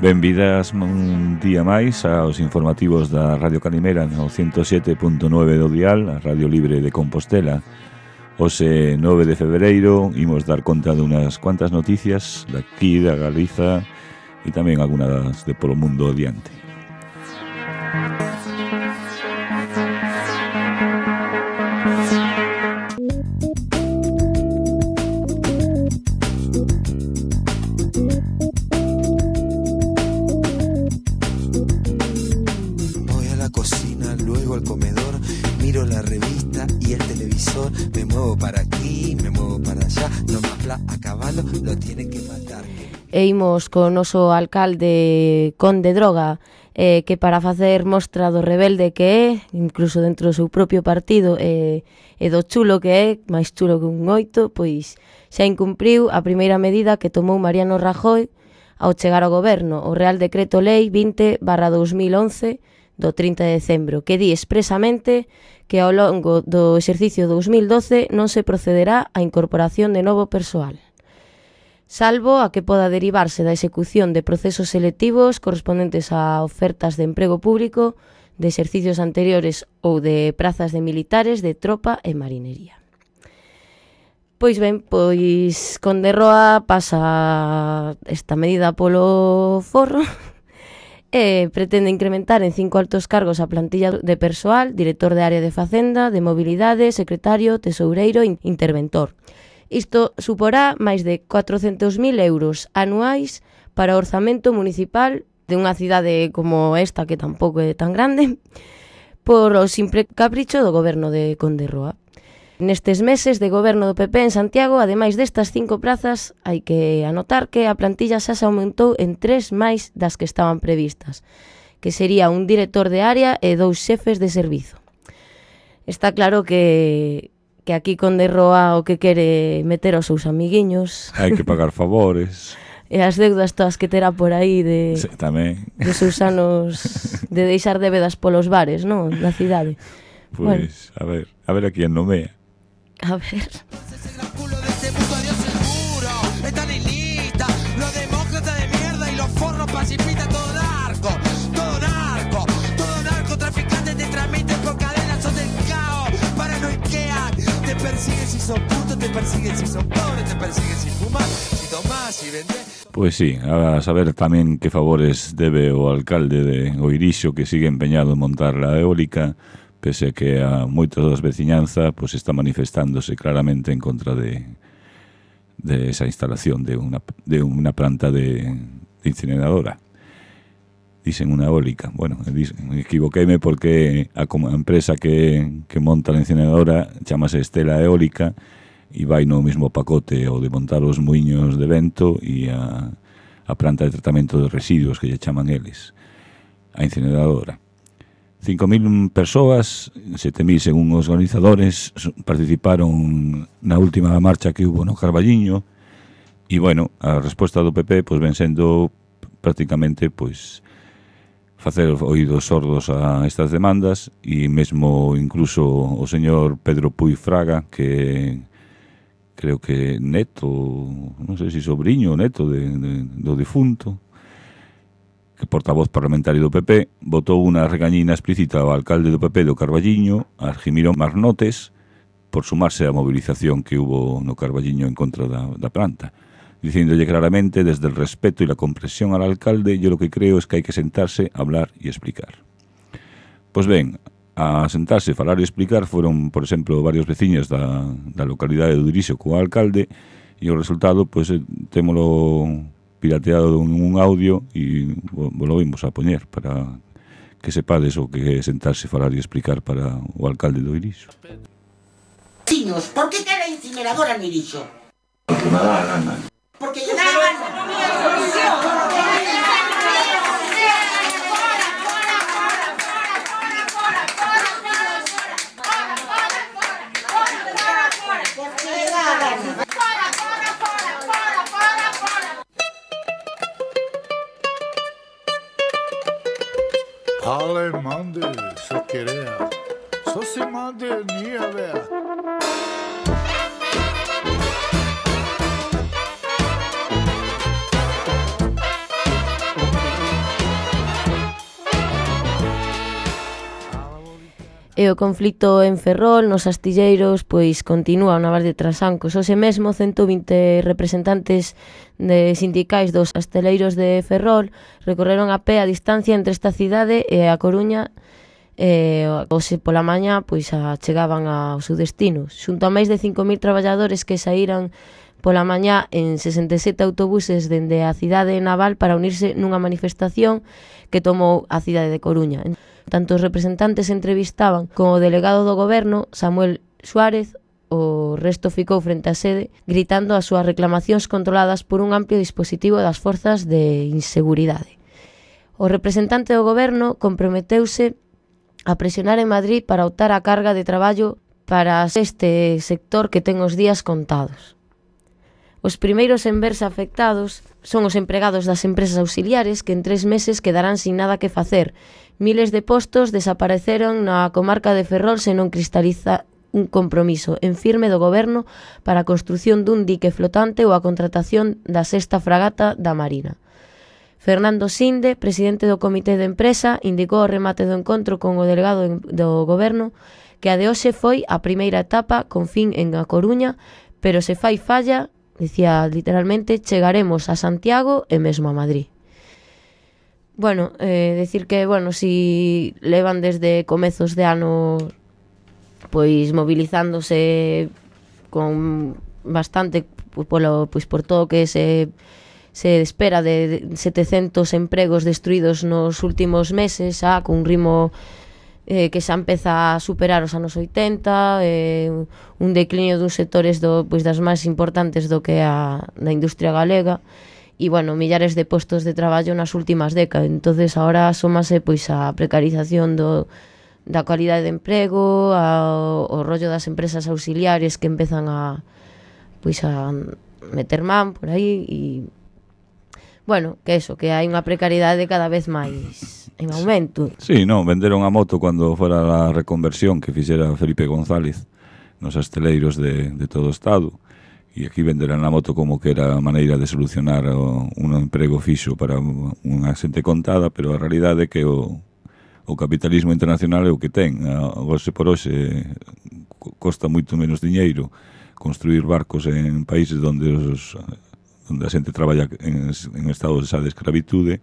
Benvidas un día máis aos informativos da Radio Calimera no 107.9 do dial, a Radio Libre de Compostela. Hoxe 9 de febreiro imos dar conta de unhas cuantas noticias daqui, da Galiza e tamén algunas de polo mundo adiante. E imos co noso alcalde Conde Droga, que para facer mostra do rebelde que é, incluso dentro do seu propio partido, e do chulo que é, máis chulo que un 8, pois xa incumpriu a primeira medida que tomou Mariano Rajoy ao chegar ao goberno, o Real Decreto Lei 20/2011 do 30 de decembro, que di expresamente que ao longo do exercicio 2012 non se procederá á incorporación de novo persoal, salvo a que poda derivarse da execución de procesos selectivos correspondentes a ofertas de emprego público de exercicios anteriores ou de prazas de militares, de tropa e marinería. Pois ben, pois Conde Roa pasa esta medida polo forro e pretende incrementar en 5 altos cargos a plantilla de persoal, director de área de Facenda, de mobilidade, secretario, tesoureiro e interventor. Isto suporá máis de 400.000 euros anuais para o orzamento municipal de unha cidade como esta, que tampouco é tan grande, por o simple capricho do goberno de Conde Roa. Nestes meses de goberno do PP en Santiago, ademais destas 5 plazas, hai que anotar que a plantilla xa se aumentou en 3 máis das que estaban previstas, que sería un director de área e 2 xefes de servizo. Está claro que aquí Conde Roa o que quere meter aos seus amiguiños. Hai que pagar favores. E as deudas todas que terá por aí de, sí, tamén. De seus anos de deixar débedas polos bares, non? Da cidade. Pois, bueno. a ver a quién nomea. A ver. Te persiguen si son putos, te persiguen si son pobres, te persiguen si fumas, si tomas, si vendes. Pois sí, a saber tamén que favores debe o alcalde de Oirixo, que sigue empeñado en montar la eólica, pese a que a moitos das veciñanza pues está manifestándose claramente en contra de esa instalación de una planta de incineradora. Dicen unha eólica. Bueno, equivoqueime porque a empresa que monta a incineradora chamase Estela Eólica e vai no mesmo pacote o de montar os muiños de vento e a planta de tratamento de residuos que lle chaman eles, a incineradora. 5.000 persoas, 7.000 según os organizadores, participaron na última marcha que hubo no Carballiño e, bueno, a resposta do PP pois ven sendo prácticamente pois facer oídos sordos a estas demandas e mesmo incluso o señor Pedro Puig Fraga, que creo que neto, non sei se sobrinho ou neto do difunto, que portavoz parlamentario do PP, botou unha regañina explícita ao alcalde do PP do Carballiño, Argimiro Marnotes, por sumarse á movilización que hubo no Carballiño en contra da planta, diciéndolle claramente, desde el respeto y la comprensión al alcalde, yo lo que creo es que hay que sentarse, hablar y explicar. Pues ben, a sentarse, falar e explicar foron, por exemplo, varios veciños da localidade de Oirixo co alcalde, e o resultado, pois, témolo pirateado un audio e lo vimos a poñer para que sepades o que é sentarse, falar e explicar para o alcalde de Oirixo. Tiños, por que quere incineradora en Oirixo? Porque me dá a gana. Porque yo dá a gana. Ale mande, så querea. Så José Madenia, vea. E o conflito en Ferrol, nos astilleiros, pois continúa o Navas de Trasancos. Hoxe mesmo 120 representantes de sindicais dos asteleiros de Ferrol recorreron a pé a distancia entre esta cidade e a Coruña. Hoxe pola mañá pois chegaban ao seu destino, xunto a máis de 5.000 traballadores que saíran pola mañá en 67 autobuses dende a cidade naval para unirse nunha manifestación que tomou a cidade de Coruña. Tanto os representantes entrevistaban como o delegado do goberno, Samuel Suárez. O resto ficou frente á sede gritando as súas reclamacións controladas por un amplio dispositivo das forzas de inseguridade. O representante do goberno comprometeuse a presionar en Madrid para optar a carga de traballo para este sector que ten os días contados. Os primeiros en verse afectados son os empregados das empresas auxiliares que en 3 meses quedarán sin nada que facer. Miles de postos desapareceron na comarca de Ferrol se non cristaliza un compromiso en firme do goberno para a construción dun dique flotante ou a contratación da 6ª fragata da Marina. Fernando Sinde, presidente do Comité de Empresa, indicou ao remate do encontro con o delegado do goberno que a de hoxe foi a primeira etapa con fin en A Coruña, pero se fai falla, dicía literalmente, chegaremos a Santiago e mesmo a Madrid. Bueno, decir que, si levan desde comezos de ano pois movilizándose con bastante por todo que se espera de 700 empregos destruídos nos últimos meses, con un ritmo que xa empeza a superar os anos 80, un declinio duns sectores das máis importantes do que a da industria galega, e, millares de postos de traballo nas últimas décadas. Entonces, ahora asómase a precarización da calidade de emprego, o rollo das empresas auxiliares que empezan a meter man por aí, e, que hai unha precariedade cada vez máis en aumento. Sí, venderon a moto cando fora a reconversión que fixera Felipe González nos asteleiros de todo o Estado, e aquí venderán a moto como que era a maneira de solucionar un emprego fixo para unha xente contada, pero a realidade é que o capitalismo internacional é o que ten. Hoxe por hoxe costa moito menos diñeiro construir barcos en países onde a xente traballa en estado de escravitude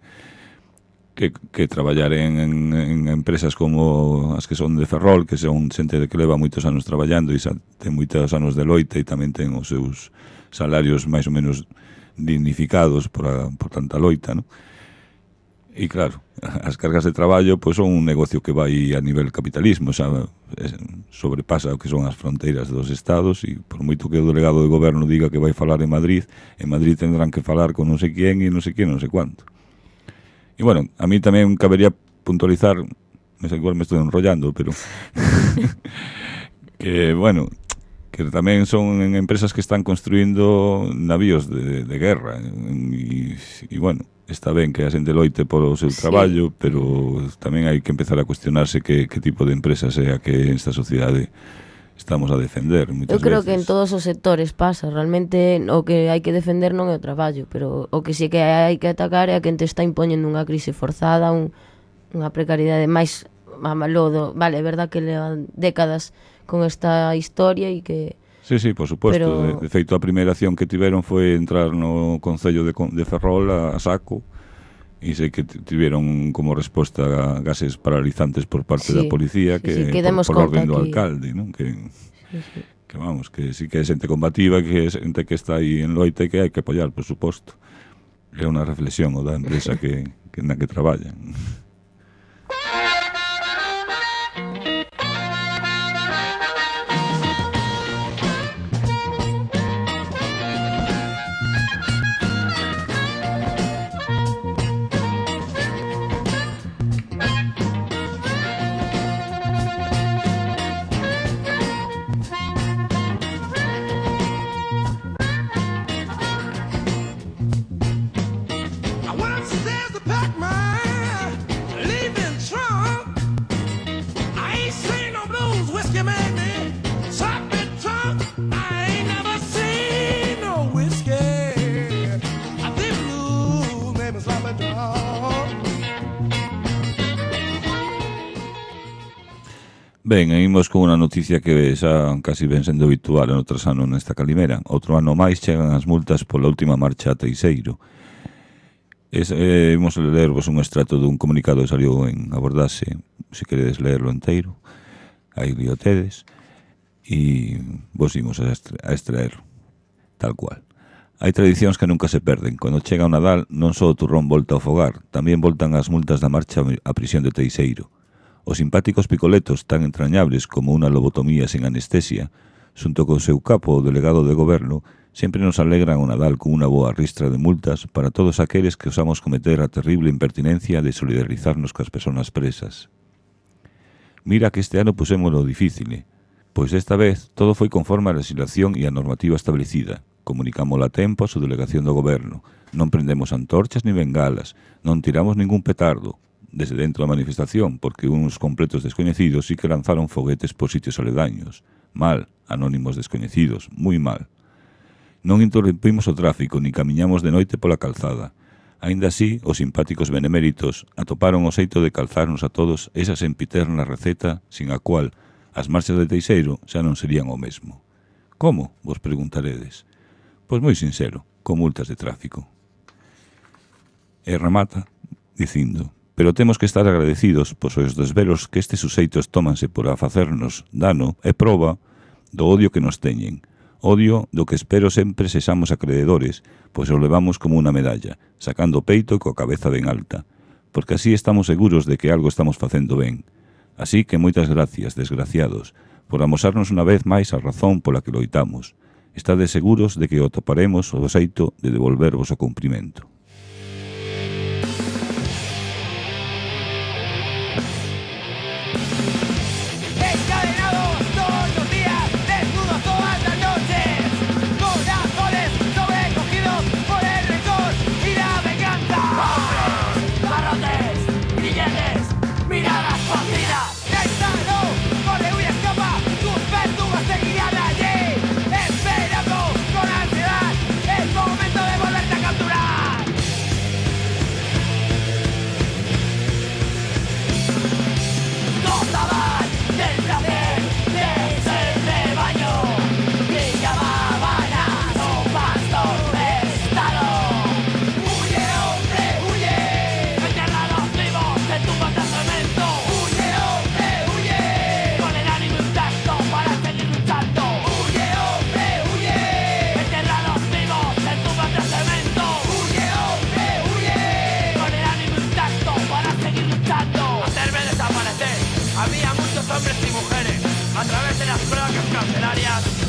que traballar en empresas como as que son de Ferrol, que son xente que leva moitos anos traballando e ten moitos anos de loita e tamén ten os seus salarios máis ou menos dignificados por tanta loita, non? E claro, as cargas de traballo son un negocio que vai a nivel capitalismo, sobrepasa o que son as fronteiras dos estados, e por moito que o delegado de goberno diga que vai falar en Madrid tendrán que falar con non sei quién e non sei quién, non sei cuánto. E a mí tamén cabería puntualizar, igual me estou enrollando, pero que tamén son empresas que están construindo navíos de guerra, e está ben que a xente loite polo seu traballo, pero tamén hai que empezar a cuestionarse que tipo de empresas é a que esta sociedade estamos a defender moitas veces. Eu creo que en todos os sectores pasa. Realmente o que hai que defender non é o traballo, pero o que sí que hai que atacar é a quen te está impoñendo unha crise forzada, unha precariedade máis lodo. Vale, é verdad que levan décadas con esta historia e que... Sí, por suposto. Pero... De feito, a primeira acción que tiveron foi entrar no Concello de Ferrol a saco, e sei que tiveron como resposta gases paralizantes por parte da policía que por orden do alcalde, non? Que sí que é xente combativa, que é xente que está aí en loita e que hai que apoiar, por suposto. É unha reflexión o da empresa na que traballan. Ben, imos con unha noticia que xa casi ven sendo habitual en outros anos nesta calimera. Outro ano máis chegan as multas pola última marcha a Teixeiro. Imos lervos un extrato dun comunicado que saliu en Abordase, se queredes lerlo inteiro, aí lo tedes, e vos imos a extraer tal cual. Hai tradicións que nunca se perden. Cando chega o Nadal, non só o turrón volta ao fogar, tamén voltan as multas da marcha á prisión de Teixeiro. Os simpáticos picoletos tan entrañables como unha lobotomía sen anestesia, xunto co seu capo, o delegado de goberno, sempre nos alegran o Nadal con unha boa ristra de multas para todos aqueles que osamos cometer a terrible impertinencia de solidarizarnos coas persoas presas. Mira que este ano pusémoslo difícil, pois esta vez todo foi conforme a legislación e a normativa establecida. Comunicámosla a tempo a súa delegación do goberno. Non prendemos antorchas ni bengalas, non tiramos ningún petardo desde dentro da manifestación, porque uns completos descoñecidos sí que lanzaron foguetes por sitios aledaños. Mal, anónimos descoñecidos, moi mal. Non interrompimos o tráfico, ni camiñamos de noite pola calzada. Aínda así, os simpáticos beneméritos atoparon o xeito de calzarnos a todos esa sempiterna receta sin a cual as marchas de Teixeiro xa non serían o mesmo. Como? Vos preguntaredes. Pois moi sincero, con multas de tráfico. E remata dicindo: pero temos que estar agradecidos pois os desvelos que estes suxeitos tómanse por a facernos dano e proba do odio que nos teñen. Odio do que espero sempre sexamos acreedores, pois o levamos como unha medalla, sacando peito e coa cabeza ben alta, porque así estamos seguros de que algo estamos facendo ben. Así que moitas gracias, desgraciados, por amosarnos unha vez máis a razón pola que loitamos. Estades seguros de que o toparemos o xeito de devolvervos o cumprimento.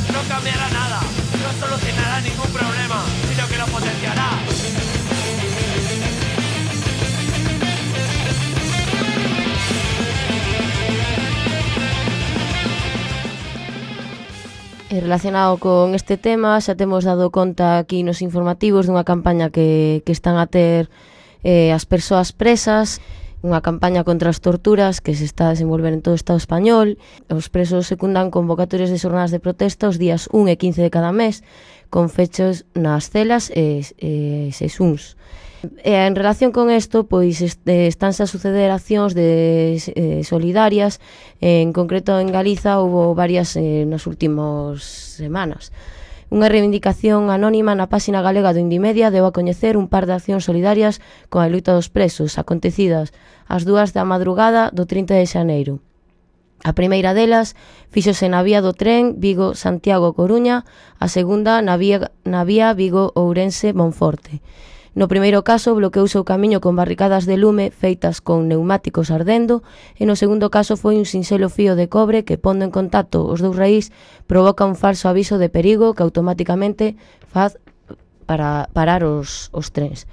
No cambiará nada, no solucionará ningún problema, sino que lo potenciará. E relacionado con este tema, xa temos dado conta aquí nos informativos dunha campaña que están a ter as persoas presas, unha campaña contra as torturas que se está a desenvolver en todo o Estado español. Os presos secundan convocatorias de xornadas de protesta os días 1 e 15 de cada mes, con fechos nas celas e sesuns. En relación con isto, pois estánse a suceder accións solidarias. En concreto en Galiza houve varias nas últimas semanas. Unha reivindicación anónima na páxina galega do Indimedia deu a coñecer un par de accións solidarias con a loita dos presos, acontecidas ás 2 da madrugada do 30 de xaneiro. A primeira delas fíxose na vía do tren Vigo-Santiago-Coruña, a segunda na vía Vigo-Ourense-Monforte. No primeiro caso, bloqueouse o camiño con barricadas de lume feitas con neumáticos ardendo, e no segundo caso foi un sinxelo fío de cobre que, pondo en contacto os dous raíz, provoca un falso aviso de perigo que automáticamente faz para parar os trens.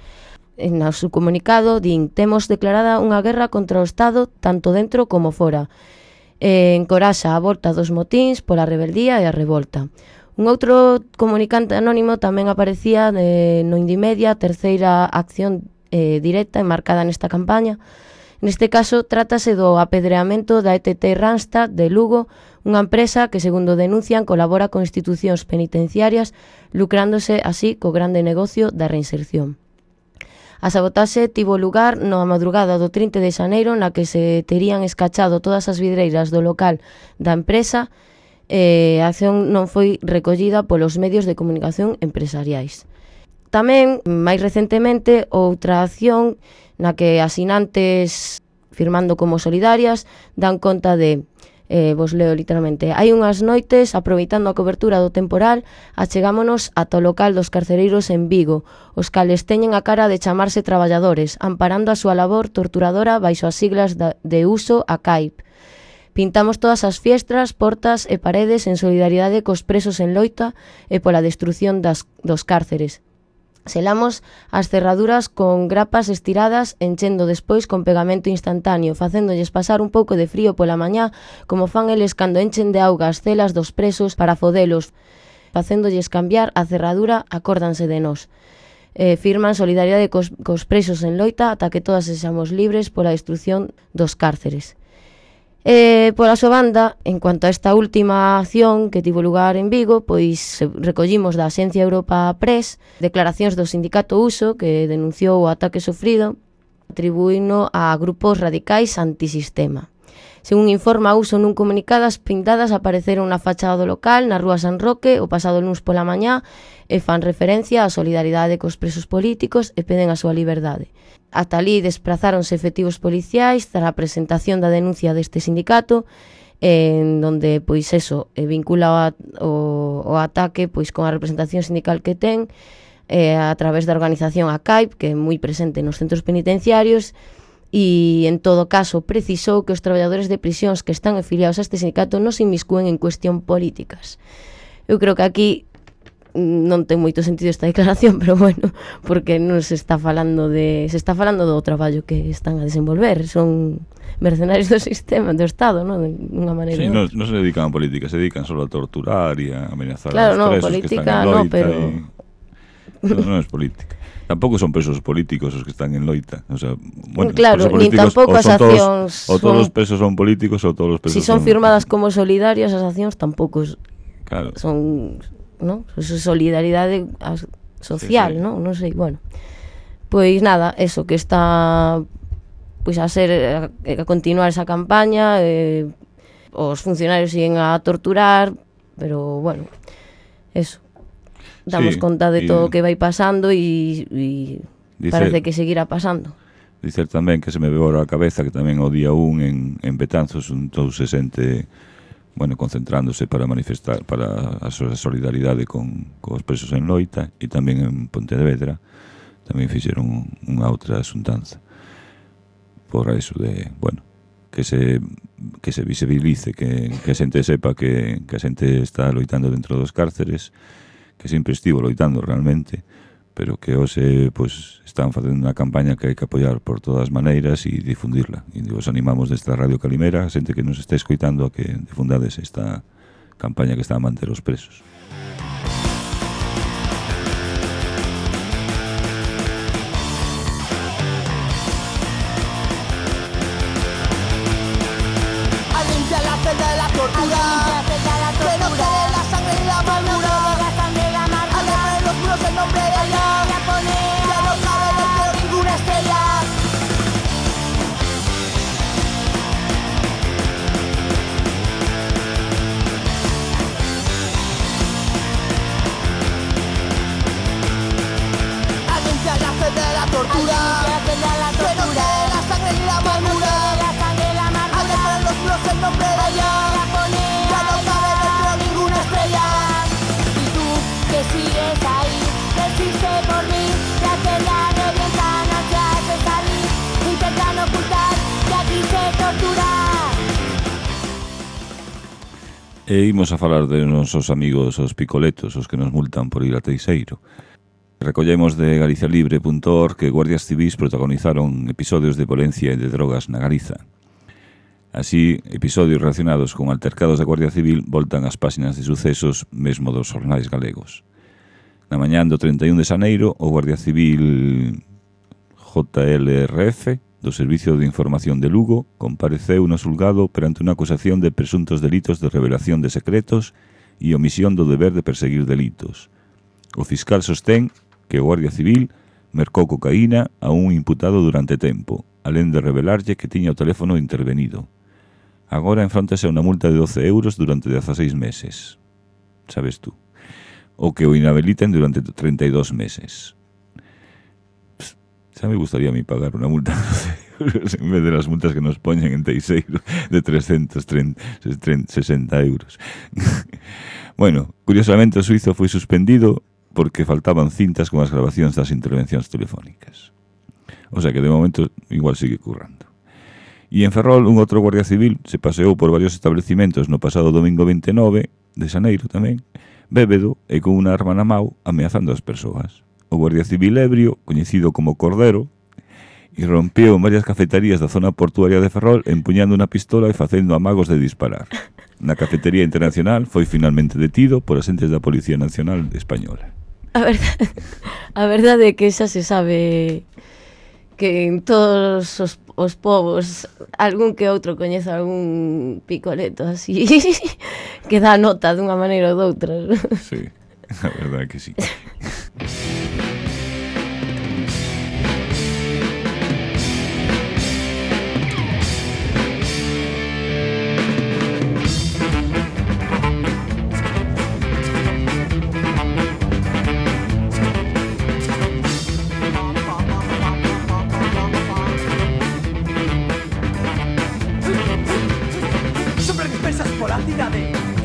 En o seu comunicado din: temos declarada unha guerra contra o Estado tanto dentro como fora. Encoraxa a volta dos motíns pola rebeldía e a revolta. Un outro comunicante anónimo tamén aparecía no Indimedia, a terceira acción directa enmarcada nesta campaña. Neste caso, trátase do apedreamento da ETT Randstad de Lugo, unha empresa que, segundo denuncian, colabora con institucións penitenciarias, lucrándose así co grande negocio da reinserción. A sabotaxe tivo lugar na madrugada do 30 de xaneiro, na que se terían escachado todas as vidreiras do local da empresa. A acción non foi recollida polos medios de comunicación empresariais. Tamén, máis recentemente, outra acción na que asinantes firmando como solidarias dan conta de, vos leo literalmente: hai unhas noites, aproveitando a cobertura do temporal, achegámonos ata o local dos carcereiros en Vigo, os cales teñen a cara de chamarse traballadores, amparando a súa labor torturadora baixo as siglas de uso a CAIP. Pintamos todas as fiestras, portas e paredes en solidaridade cos presos en loita e pola destrución dos cárceres. Selamos as cerraduras con grapas estiradas, enchendo despois con pegamento instantáneo, facéndolles pasar un pouco de frío pola mañá, como fan eles cando enchen de auga as celas dos presos para fodelos. Facéndolles cambiar a cerradura, acórdanse de nós. Firman solidariedade cos presos en loita ata que todas sexamos libres pola destrución dos cárceres. Pola súa banda, en cuanto a esta última acción que tivo lugar en Vigo, pois recollimos da Axencia Europa Press declaracións do sindicato USO, que denunciou o ataque sofrido, atribuíno a grupos radicais antisistema. Según informa USO nun comunicado, as pintadas apareceron na fachada do local, na rúa San Roque, o pasado luns pola mañá, e fan referencia á solidaridade cos presos políticos e peden a súa liberdade. Ata ali desprazáronse efectivos policiais tras a presentación da denuncia deste sindicato, en donde, pois eso, vincula o ataque pois con a representación sindical que ten, a través da organización ACAIP, que é moi presente nos centros penitenciarios, e, en todo caso, precisou que os traballadores de prisións que están afiliados a este sindicato non se inmiscúen en cuestión políticas. Eu creo que aquí non ten moito sentido esta declaración, pero bueno, porque non se está falando do traballo que están a desenvolver, son mercenarios do sistema, do Estado, non? De unha maneira. Sí, non se dedican a política, se dedican solo a torturar e a amenazar claro, a los presos política, que están en loita. pero Non é política. Tampouco son presos políticos os que están en loita. O sea, bueno, claro, nin tampouco as accións ou todos os presos son políticos ou todos os presos si son firmadas como solidarias, as accións tampouco claro. Son, ¿no? Eso é solidaridade social, sí. Non sei, bueno. Pois nada, eso que está pois a continuar esa campaña, os funcionarios siguen a torturar, pero bueno, eso. Damos conta de todo o que vai pasando e parece que seguirá pasando. Dicer tamén que se me veo ahora a cabeza que tamén o día 1 en Betanzos todo se sente, bueno, concentrándose para manifestar para a súa solidaridade cos presos en loita, e tamén en Pontevedra tamén fixeron unha outra xuntanza por eso de, bueno, que se visibilice, que a xente sepa que a xente está loitando dentro dos cárceres, que sempre estivo loitando realmente, pero que hoxe pues, están facendo unha campaña que hai que apoiar por todas maneiras e difundirla. E os animamos desta Radio Calimera, a xente que nos está escoitando, a que difundades esta campaña que está a manter os presos. A limpiar la celda de la tortura, que no quede la sangre y la amargura. El nombre de ella, ya no cabe dentro ninguna estrella. A limpiar la celda de la tortura, que no quede la sangre ni la amargura. A dejar en los muros el nombre de ella, ya no cabe dentro ninguna estrella. Y tú que sigues ahí, resiste por mí, la celda revientan ansias de salir, intentan ocultar que aquí se tortura. E imos a falar de nosos amigos os picoletos, os que nos multan por ir a Teixeiro. Recollemos de galicialibre.org que guardias civís protagonizaron episodios de violencia e de drogas na Galiza. Así, episodios relacionados con altercados da Guardia Civil voltan ás páxinas de sucesos mesmo dos xornais galegos. Na mañán do 31 de xaneiro, o Guardia Civil JLRF do Servicio de Información de Lugo compareceu no xulgado perante unha acusación de presuntos delitos de revelación de secretos e omisión do deber de perseguir delitos. O fiscal sostén que o Guardia Civil mercou cocaína a un imputado durante tempo, alén de revelarlle que tiña o teléfono intervenido. Agora enfróntase a unha multa de 12 euros durante 16 meses. Sabes tú? O que o inhabiliten durante 32 meses. Xa me gustaría a mí pagar unha multa de 12 euros en vez de las multas que nos poñen en Teixeiro de 360 euros. Bueno, curiosamente o suizo foi suspendido porque faltaban cintas con as grabacións das intervencións telefónicas. O sea que de momento igual sigue currando. E en Ferrol un outro guardia civil se paseou por varios establecimentos no pasado domingo 29 de xaneiro tamén, bébedo e con unha arma na mau ameazando as persoas. O guardia civil ebrio, coñecido como Cordero, irrompeu en varias cafeterías da zona portuaria de Ferrol empuñando unha pistola e facendo amagos de disparar. Na cafetería internacional foi finalmente detido por agentes da Policía Nacional Española. A verdade é que xa se sabe que en todos os povos algún que outro coñece algún picoleto así que dá nota dunha maneira ou doutra. Sí, a verdade é que sí.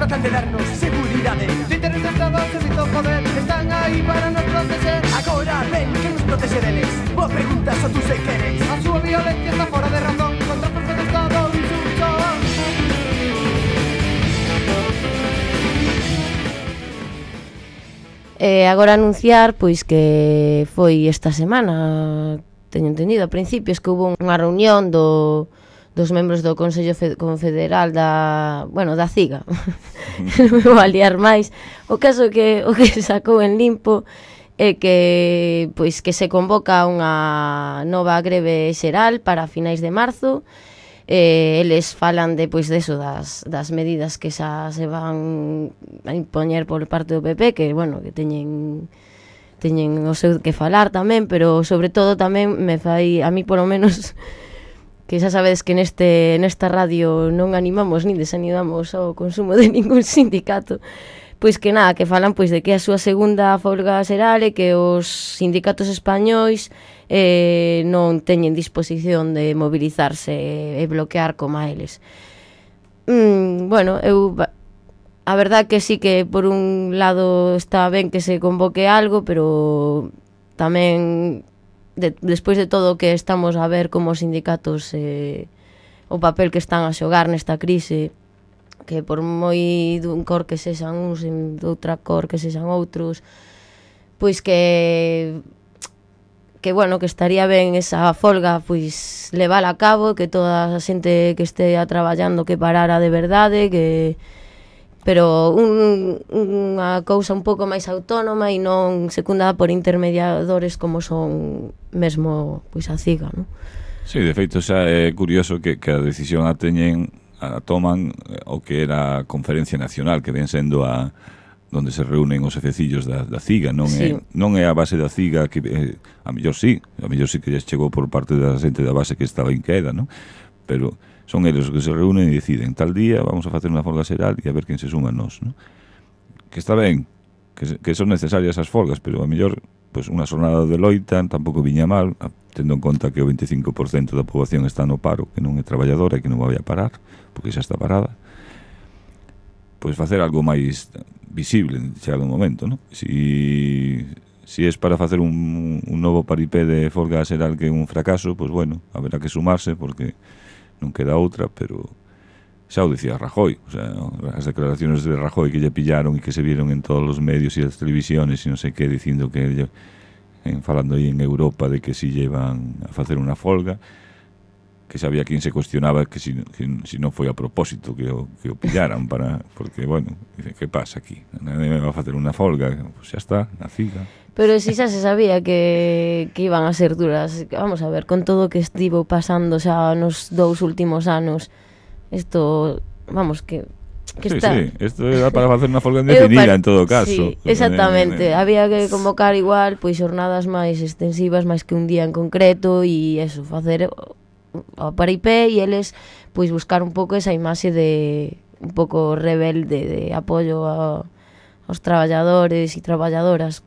Tratan de darnos seguridade. Os intereses de Estado, servizo, poder están aí para nos proteger. Agora ven que nos protege deles. Boa pregunta, só tú se queres. A súa violencia está fora de razón. Contra a forza do Estado insulto. Agora anunciar pois que foi esta semana, teño entendido a principios, que hubo unha reunión dos membros do Consello Confederal da CIGA. Non me vou a liar máis. O caso que o que sacou en limpo é que pois que se convoca unha nova greve xeral para finais de marzo. Eles falan de eso das medidas que xa se van a impoñer por parte do PP, que bueno, que teñen o seu que falar tamén, pero sobre todo tamén me fai a mí polo menos que xa sabedes que nesta radio non animamos nin desanimamos ao consumo de ningún sindicato, pois que nada, que falan pois de que a súa segunda folga xeral e que os sindicatos españois non teñen disposición de mobilizarse e bloquear como a eles. Bueno, a verdad que sí que por un lado está ben que se convoque algo, pero tamén despois de todo o que estamos a ver como os sindicatos o papel que están a xogar nesta crise, que por moi dun cor que sexan uns e doutra cor que sexan outros, pois que bueno, que estaría ben esa folga pois levala a cabo, que toda a xente que este a traballando que parara de verdade, pero unha cousa un pouco máis autónoma e non secundada por intermediadores como son mesmo pois a CIGA, non? Sí, de feito xa é curioso que a decisión a toman o que era a Conferencia Nacional, que ven sendo onde se reúnen os efecillos da CIGA, non é a base da CIGA que a mellor sí que lles chegou por parte da xente da base que estaba en queda, non? Pero son eles os que se reúnen e deciden tal día vamos a facer unha folga xeral e a ver quen se suma a nós, non? Que está ben, que son necesarias as folgas, pero a mellor pois unha xornada de loita tampouco viña mal, tendo en conta que o 25% da poboación está no paro, que non é traballadora e que non vai a parar, porque xa está parada. Pois facer algo máis visible chegado un momento, non? Si es para facer un novo paripé de folga xeral que é un fracaso, pois bueno, haberá que sumarse porque non queda outra, pero xa o dicía Rajoy, o sea, as declaraciones de Rajoy que lle pillaron e que se vieron en todos os medios e as televisiones e non sei que, dicindo que falando aí en Europa de que si llevan a facer unha folga, que xa había quen se cuestionaba que si non foi a propósito que o pillaran porque, bueno, dice, que pasa aquí? Nadie me va a facer unha folga, pues xa está, na CIGA. Pero si xa se sabía que iban a ser duras. Vamos a ver, con todo o que estivo pasando xa nos 2 últimos anos, isto, vamos, que que Sí, está... sí, isto era para facer unha folga Eu indefinida en todo caso. Sí, exactamente. Había que convocar igual pois xornadas máis extensivas, máis que un día en concreto, e eso, facer o paripé, e eles pois buscar un pouco esa imaxe de un pouco rebelde, de apoio aos traballadores e traballadoras.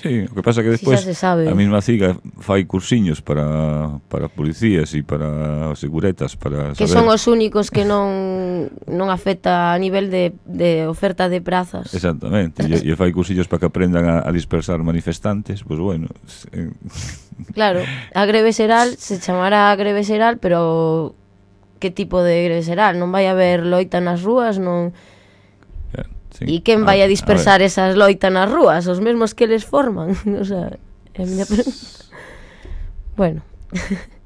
Sí, o que pasa que Si xa despois se sabe. a mesma CIGA fai cursiños para policías e para seguretas para Que saber... son os únicos que non afecta a nivel de oferta de prazas. Exactamente, e fai cursillos para que aprendan a dispersar manifestantes, pois bueno... Claro, a greve xeral se chamará a greve xeral, pero que tipo de greve xeral? Non vai haber loita nas rúas, non... Sí. E quen vai a dispersar esas loitas nas rúas? Os mesmos que les forman. O sea, é a miña pregunta. Bueno.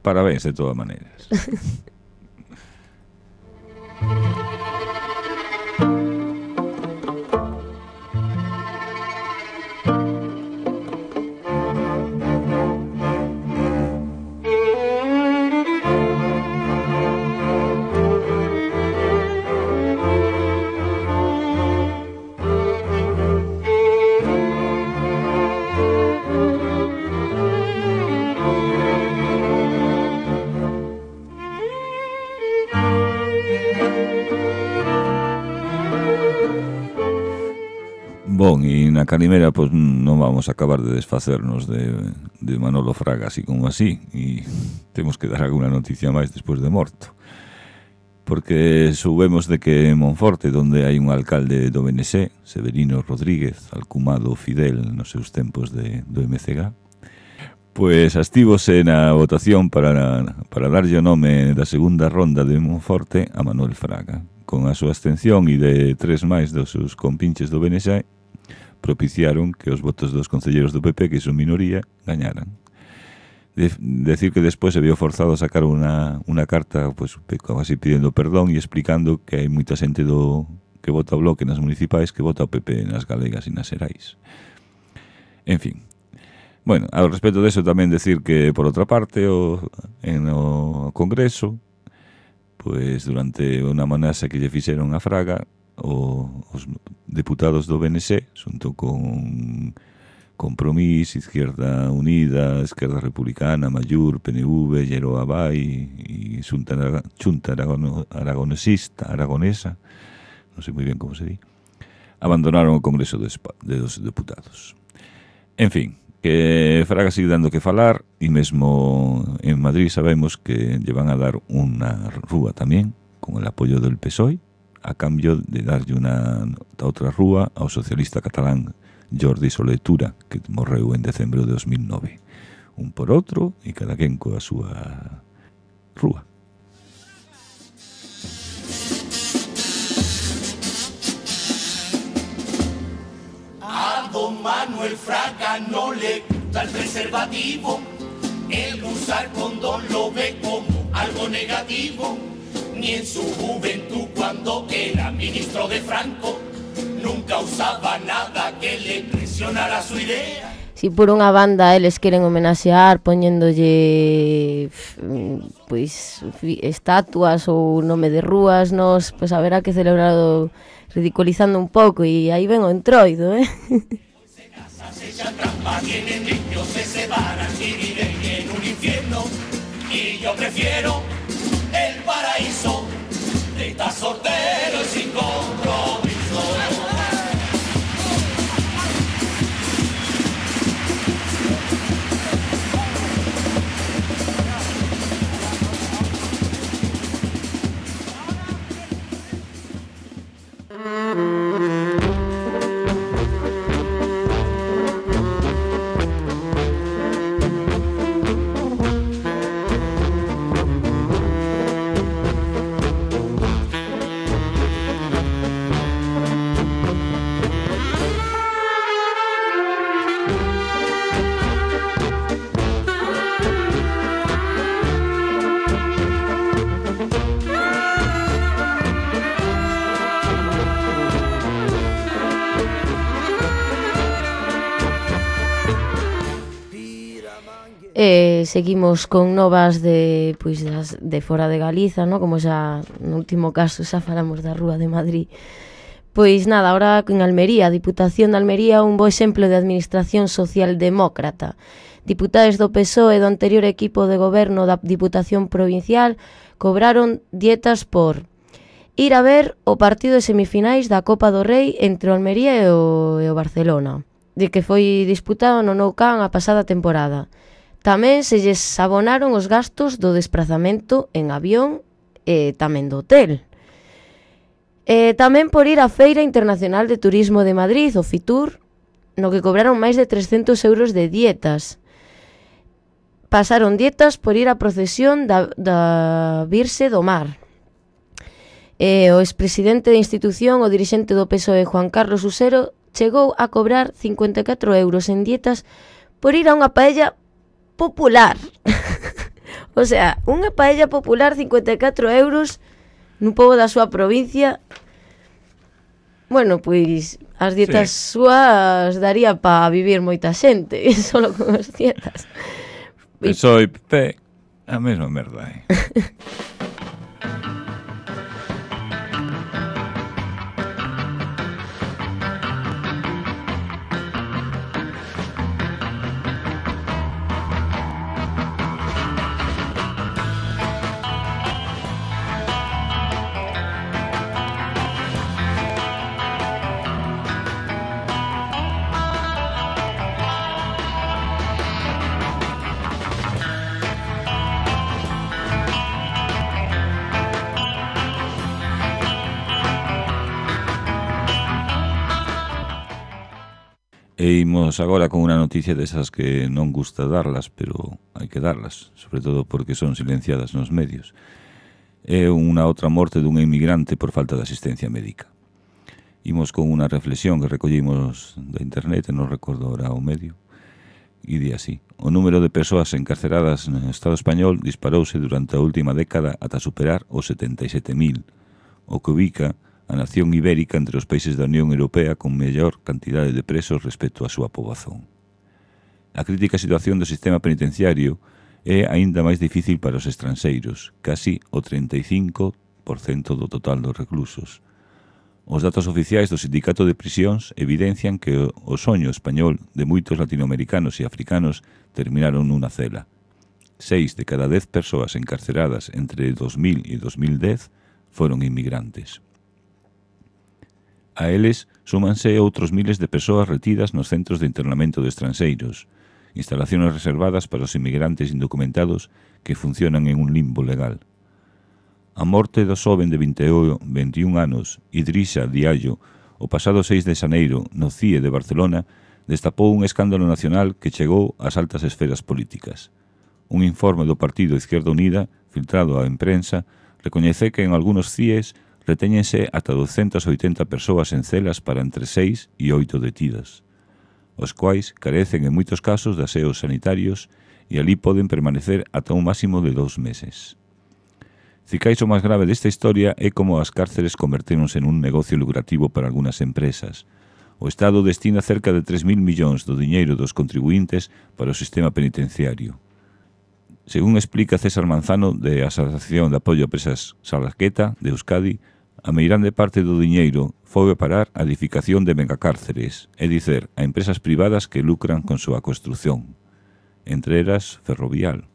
Parabéns de todas maneiras. Bon, e na Calimera pois non vamos a acabar de desfacernos de Manolo Fraga así como así, e temos que dar alguna noticia máis despois de morto, porque soubemos de que en Monforte, donde hai un alcalde do BNC, Severino Rodríguez, alcumado Fidel nos seus tempos do MCG, pois astívose na votación para darlle o nome da segunda ronda de Monforte a Manuel Fraga. Con a súa abstención e de 3 máis dos seus compinches do BNC, propiciaron que os votos dos concelleiros do PP, que son minoría, gañaran. Decir que despois se vio forzado a sacar unha carta, pues, así pidiendo perdón e explicando que hai moita xente que vota o Bloque nas municipais que vota o PP nas galegas e nas xerais. En fin. Bueno, ao respecto deso tamén decir que, por outra parte, en o Congreso, pues durante unha amenaza que lle fixeron a Fraga, os deputados do BNC, xunto con Compromís, Izquierda Unida, Esquerda Republicana, Mallur, PNV, Lleroa Vai e Xunta Aragonesa, non sei moi ben como se di, abandonaron o Congreso dos Deputados. En fin, que Fraga sigue dando que falar, e mesmo en Madrid sabemos que lle van a dar unha rúa tamén, con el apoio del PSOE, a cambio de darlle unha outra rúa ao socialista catalán Jordi Solé Tura, que morreu en decembro de 2009. Un por outro e cada quen coa súa rúa. A don Manuel Fraga no le gusta el preservativo, el usar condón lo ve como algo negativo. Ni en su juventud cuando era ministro de Franco nunca usaba nada que le presionara su idea. Si por unha banda eles queren homenaxear poñéndolle pois estatuas ou nome de rúas, nos pois haberá que celebrarlo ridiculizando un pouco, e aí ven o entroido, Se casan, se echan trampa, tienen niños, se separan y viven en un infierno. Y yo prefiero el paraíso de estar soltero y sin compromiso. seguimos con novas de fora de Galiza, ¿no? Como xa no último caso xa falamos da Rúa de Madrid. Pois nada, ahora en Almería, a Diputación de Almería, un bo exemplo de administración socialdemócrata. Diputados do PSOE do anterior equipo de goberno da Diputación Provincial cobraron dietas por ir a ver o partido de semifinais da Copa do Rei entre o Almería e o Barcelona, de que foi disputado no Nou Camp a pasada temporada. Tamén se lles abonaron os gastos do desprazamento en avión e tamén do hotel. Tamén por ir á Feira Internacional de Turismo de Madrid, o FITUR, no que cobraron máis de 300 euros de dietas. Pasaron dietas por ir á procesión da Virxe do Mar. O expresidente da institución, o dirixente do PSOE, Juan Carlos Usero, chegou a cobrar 54 euros en dietas por ir a unha paella popular. O sea, unha paella popular, 54 euros nun pobo da súa provincia. Bueno, pois as dietas súas daría para vivir moita xente, solo con as dietas. PSOE e PP, a mesma merda, E imos agora con unha noticia desas que non gusta darlas, pero hai que darlas, sobre todo porque son silenciadas nos medios. É unha outra morte dunha inmigrante por falta de asistencia médica. Imos con unha reflexión que recollimos da internet, non recordo ahora o medio, e di así: o número de persoas encarceradas no Estado español disparouse durante a última década ata superar os 77.000, o que ubica a nación ibérica entre os países da Unión Europea con mellor cantidade de presos respecto á súa poboación. A crítica situación do sistema penitenciario é aínda máis difícil para os estranxeiros, casi o 35% do total dos reclusos. Os datos oficiais do Sindicato de Prisións evidencian que o soño español de moitos latinoamericanos e africanos terminaron nunha cela. 6 de cada 10 persoas encarceradas entre 2000 e 2010 foron inmigrantes. A eles súmanse outros miles de persoas retidas nos centros de internamento de estranxeiros, instalaciones reservadas para os inmigrantes indocumentados que funcionan en un limbo legal. A morte do xoven de 21 anos, Idrissa Diallo, o pasado 6 de xaneiro no CIE de Barcelona, destapou un escándalo nacional que chegou ás altas esferas políticas. Un informe do Partido Izquierda Unida, filtrado á imprensa, recoñece que en algunos CIEs retéñense ata 280 persoas en celas para entre 6 e 8 detidas, os quais carecen en moitos casos de aseos sanitarios e ali poden permanecer ata un máximo de 2 meses. Cicais o máis grave desta historia é como as cárceres convertéronse en un negocio lucrativo para algunhas empresas. O Estado destina cerca de 3.000 millóns do diñeiro dos contribuintes para o sistema penitenciario. Según explica César Manzano, de Asociación de Apoio a Presas Salaqueta, de Euskadi, a meirande parte do diñeiro foi a parar a edificación de megacárceres, é dicer, a empresas privadas que lucran con súa construción, entre elas Ferrovial.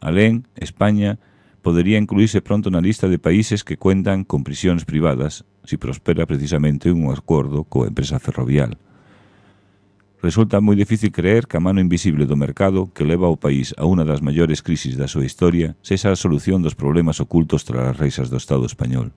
Alén, España podería incluírse pronto na lista de países que cuentan con prisións privadas si prospera precisamente un acordo coa empresa Ferrovial. Resulta moi difícil creer que a mano invisible do mercado que leva o país a unha das maiores crisis da súa historia sexa a solución dos problemas ocultos tras as reixas do Estado español.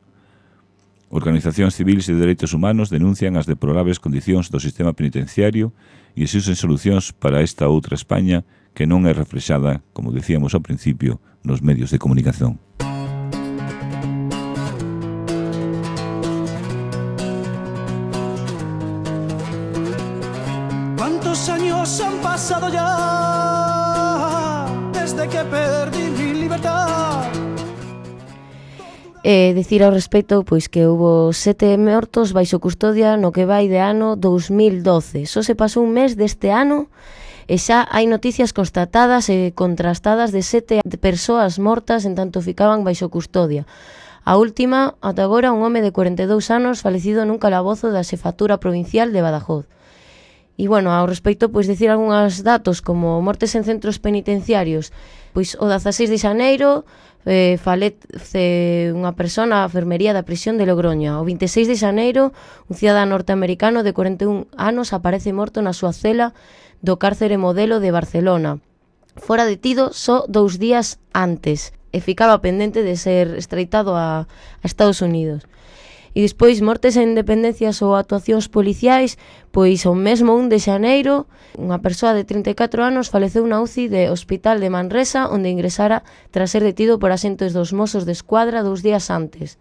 Organizacións civiles e de dereitos humanos denuncian as deplorables condicións do sistema penitenciario e exigen solucións para esta outra España que non é reflexada, como decíamos ao principio, nos medios de comunicación. ¿Cuántos años han pasado ya desde que perdí mi libertad? Dicir ao respecto pois que houbo 7 mortos baixo custodia no que vai de ano 2012. Só se pasou un mes deste ano E xa hai noticias constatadas e contrastadas de 7 persoas mortas en tanto ficaban baixo custodia. A última, ata agora, un home de 42 anos falecido nun calabozo da Xefatura Provincial de Badajoz. E, bueno, ao respecto, pois, dicir algúns datos como mortes en centros penitenciarios. Pois, o 16 de xaneiro falece unha persona a enfermería da prisión de Logroña. O 26 de xaneiro, un cidadán norteamericano de 41 anos aparece morto na súa cela do cárcere Modelo de Barcelona. Fora detido só 2 días antes e ficaba pendente de ser extraditado a Estados Unidos. E despois, mortes en dependencias ou actuacións policiais, pois o mesmo 1 de xaneiro, unha persoa de 34 anos faleceu na UCI de Hospital de Manresa, onde ingresara tras ser detido por axentes dos Mossos de Escuadra 2 días antes.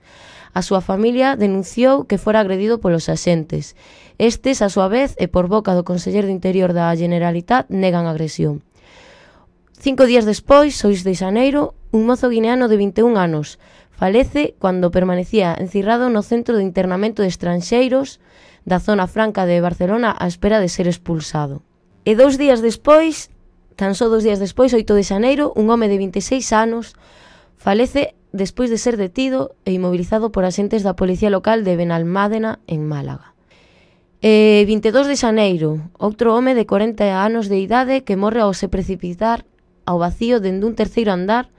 A súa familia denunciou que fora agredido polos axentes. Estes, a súa vez, e por boca do Conselleiro de Interior da Generalitat, negan a agresión. 5 días despois, 6 de xaneiro, un mozo guineano de 21 anos falece cando permanecía encerrado no centro de internamento de estranxeiros da zona franca de Barcelona á espera de ser expulsado. E 2 días despois, tan só 2 días despois, 8 de xaneiro, un home de 26 anos falece despois de ser detido e inmobilizado por axentes da Policía Local de Benalmádena, en Málaga. 22 de xaneiro, outro home de 40 anos de idade que morre ao se precipitar ao vacío dende un terceiro andar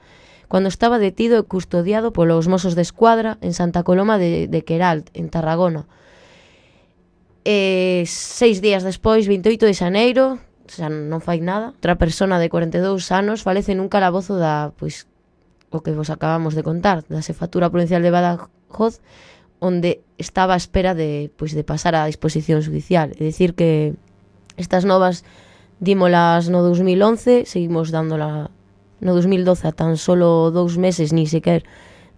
cando estaba detido e custodiado polos Mossos de Escuadra en Santa Coloma de Queralt, en Tarragona. 6 días despois, 28 de xaneiro, xa non fai nada, outra persona de 42 anos falece nun calabozo da, pois, o que vos acabamos de contar, da Xefatura Provincial de Badajoz, onde estaba a espera de pasar á disposición judicial. É dicir que estas novas dímolas no 2011, seguimos dándola no 2012 a tan solo 2 meses ni sequer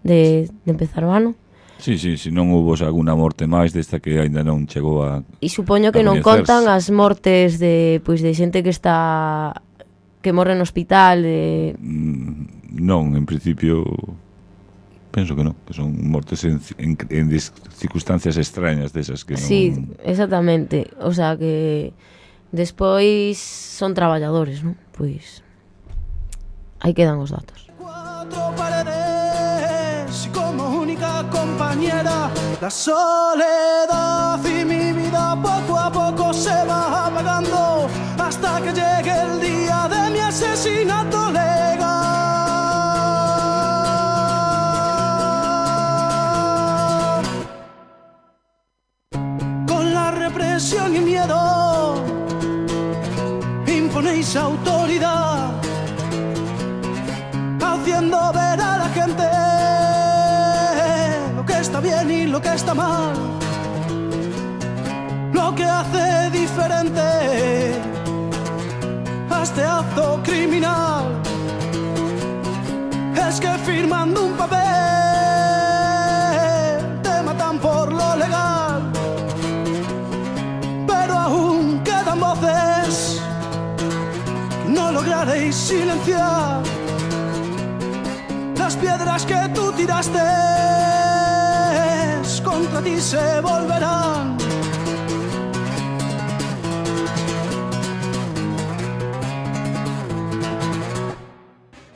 de empezar o ano. Sí, se non houve alguna morte máis desta que aínda non chegou a... E supoño que non contan as mortes de xente que está... que morre no hospital. Non, en principio... Penso que non, que son mortes en circunstancias extrañas desas que non... Sí, exactamente. O sea que despois son traballadores, non? Pois... Ahí quedan os datos. 4 paredes y como única compañera la soledad y mi vida poco a poco se va apagando hasta que llegue el día de mi asesinato legal. Con la represión y miedo imponéis autoridad, haciendo ver a la gente lo que está bien y lo que está mal, lo que hace diferente a este acto criminal es que firmando un papel te matan por lo legal, pero aún quedan voces que no lograréis silenciar. Las piedras que tú tiraste contra ti se volverán.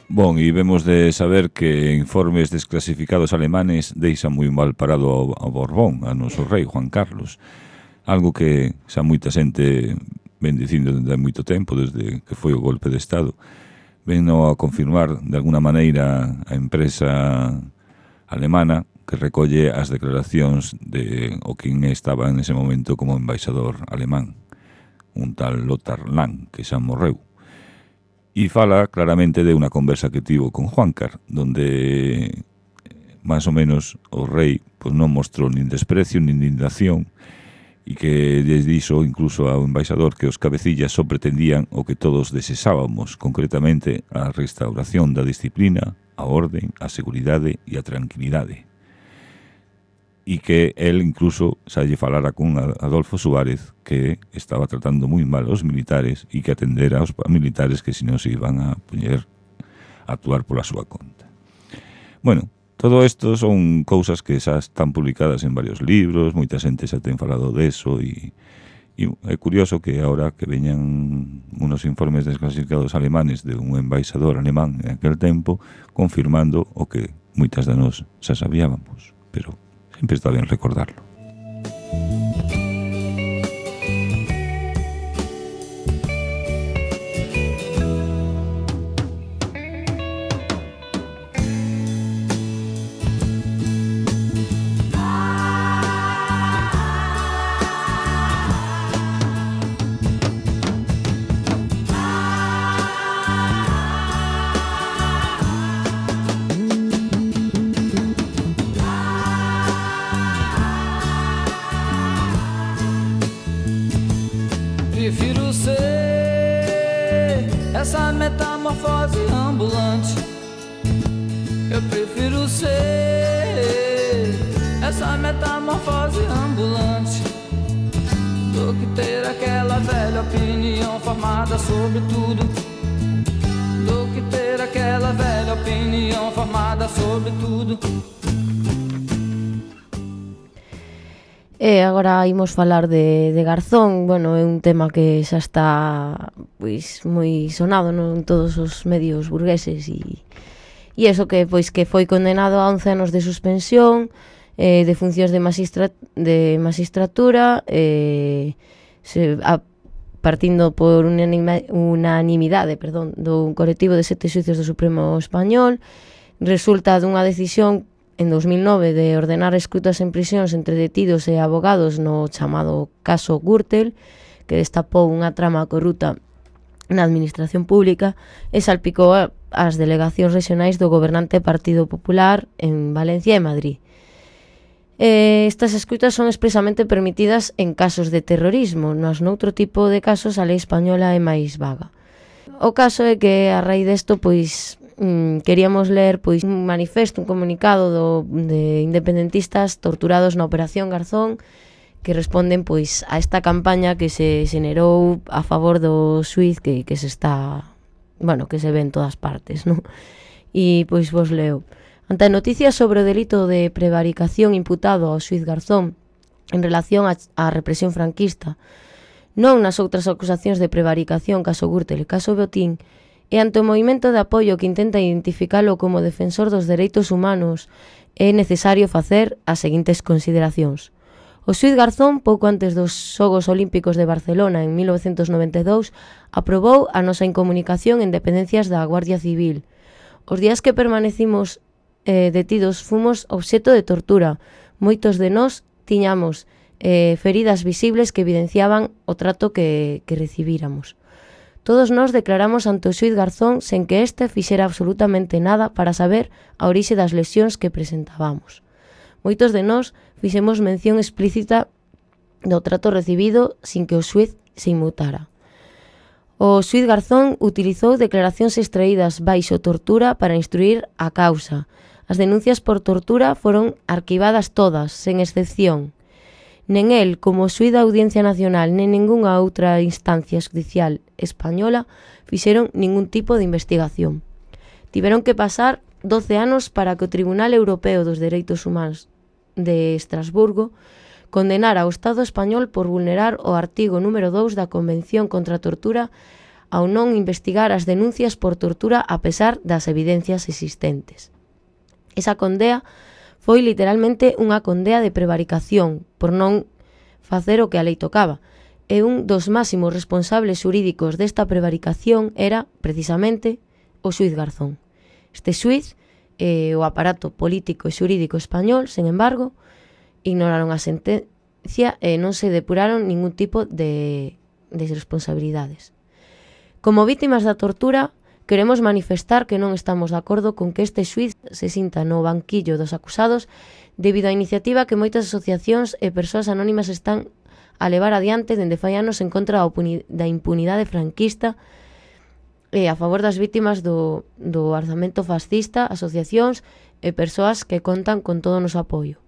Bon, e vemos de saber que informes desclasificados alemanes deixan moi mal parado ao Borbón, a noso rei Juan Carlos. Algo que xa moita xente ven dicindo desde hai moito tempo, desde que foi o golpe de Estado. Veno a confirmar de alguna maneira a empresa alemana que recolle as declaracións de o quen estaba en ese momento como embaixador alemán, un tal Lothar Lang, que xa morreu. E fala claramente de unha conversa que tivo con Juancar, donde máis ou menos o rei pues, non mostrou nin desprecio nin indignación, e que desde iso incluso ao embaixador que os cabecillas só pretendían o que todos desexábamos, concretamente a restauración da disciplina, a orden, a seguridade e a tranquilidade. E que el incluso xa lle falara con Adolfo Suárez que estaba tratando moi mal aos militares e que atendera aos militares que senón se iban a poñer a actuar pola súa conta. Bueno, todo isto son cousas que xa están publicadas en varios libros, moita xente xa ten falado deso e Y é curioso que ahora que veñan unos informes desclasificados alemanes de un embaixador alemán en aquel tempo confirmando o que moitas de nós xa sabíamos, pero sempre está ben recordarlo. Prefiro ser essa metamorfose ambulante. Eu prefiro ser essa metamorfose ambulante do que ter aquela velha opinião formada sobre tudo. Do que ter aquela velha opinião formada sobre tudo. E agora imos falar de Garzón. Bueno, é un tema que xa está pois moi sonado en todos os medios burgueses e eso que pois que foi condenado a 11 anos de suspensión de funcións de magistratura partindo por unanimidade do colectivo de 7 xuicios do Supremo Español. Resulta dunha decisión en 2009 de ordenar escutas en prisións entre detidos e abogados no chamado caso Gürtel, que destapou unha trama corrupta na administración pública e salpicou as delegacións regionais do gobernante Partido Popular en Valencia e Madrid. Estas escutas son expresamente permitidas en casos de terrorismo, mas noutro tipo de casos a lei española é máis vaga. O caso é que a raíz desto, pois, queríamos ler pois un manifesto, un comunicado de independentistas torturados na Operación Garzón que responden pois a esta campaña que se xenerou a favor do xuiz que se está, bueno, que se ve en todas partes, ¿no? E pois vos leo. Ante a noticia sobre o delito de prevaricación imputado ao xuiz Garzón en relación á represión franquista, non nas outras acusacións de prevaricación caso Gürtel e caso Botín, e ante o movimento de apoio que intenta identificalo como defensor dos dereitos humanos, é necesario facer as seguintes consideracións. O xuiz Garzón, pouco antes dos Xogos Olímpicos de Barcelona en 1992, aprobou a nosa incomunicación en dependencias da Guardia Civil. Os días que permanecimos detidos fomos obxeto de tortura. Moitos de nós tiñamos feridas visibles que evidenciaban o trato que recibíramos. Todos nós declaramos ante o xuiz Garzón sen que este fixera absolutamente nada para saber a orixe das lesións que presentábamos. Moitos de nós fixemos mención explícita do trato recibido sin que o xuiz se inmutara. O xuiz Garzón utilizou declaracións extraídas baixo tortura para instruir a causa. As denuncias por tortura foron arquivadas todas, sen excepción. Nen el, como xuiz da Audiencia Nacional, nen ningunha outra instancia judicial española fixeron ningún tipo de investigación. Tiveron que pasar 12 anos para que o Tribunal Europeo dos Dereitos Humanos de Estrasburgo condenara ao Estado español por vulnerar o artigo número 2 da Convención contra a Tortura ao non investigar as denuncias por tortura a pesar das evidencias existentes. Esa condea foi literalmente unha condea de prevaricación por non facer o que a lei tocaba. E un dos máximos responsables xurídicos desta prevaricación era, precisamente, o xuiz Garzón. Este xuiz e o aparato político e xurídico español, sen embargo, ignoraron a sentencia e non se depuraron ningún tipo de responsabilidades. Como vítimas da tortura, queremos manifestar que non estamos de acordo con que este xuiz se sinta no banquillo dos acusados debido á iniciativa que moitas asociacións e persoas anónimas están a levar adiante dende fai anos en contra da impunidade franquista e a favor das vítimas do arzamento fascista, asociacións e persoas que contan con todo o noso apoio.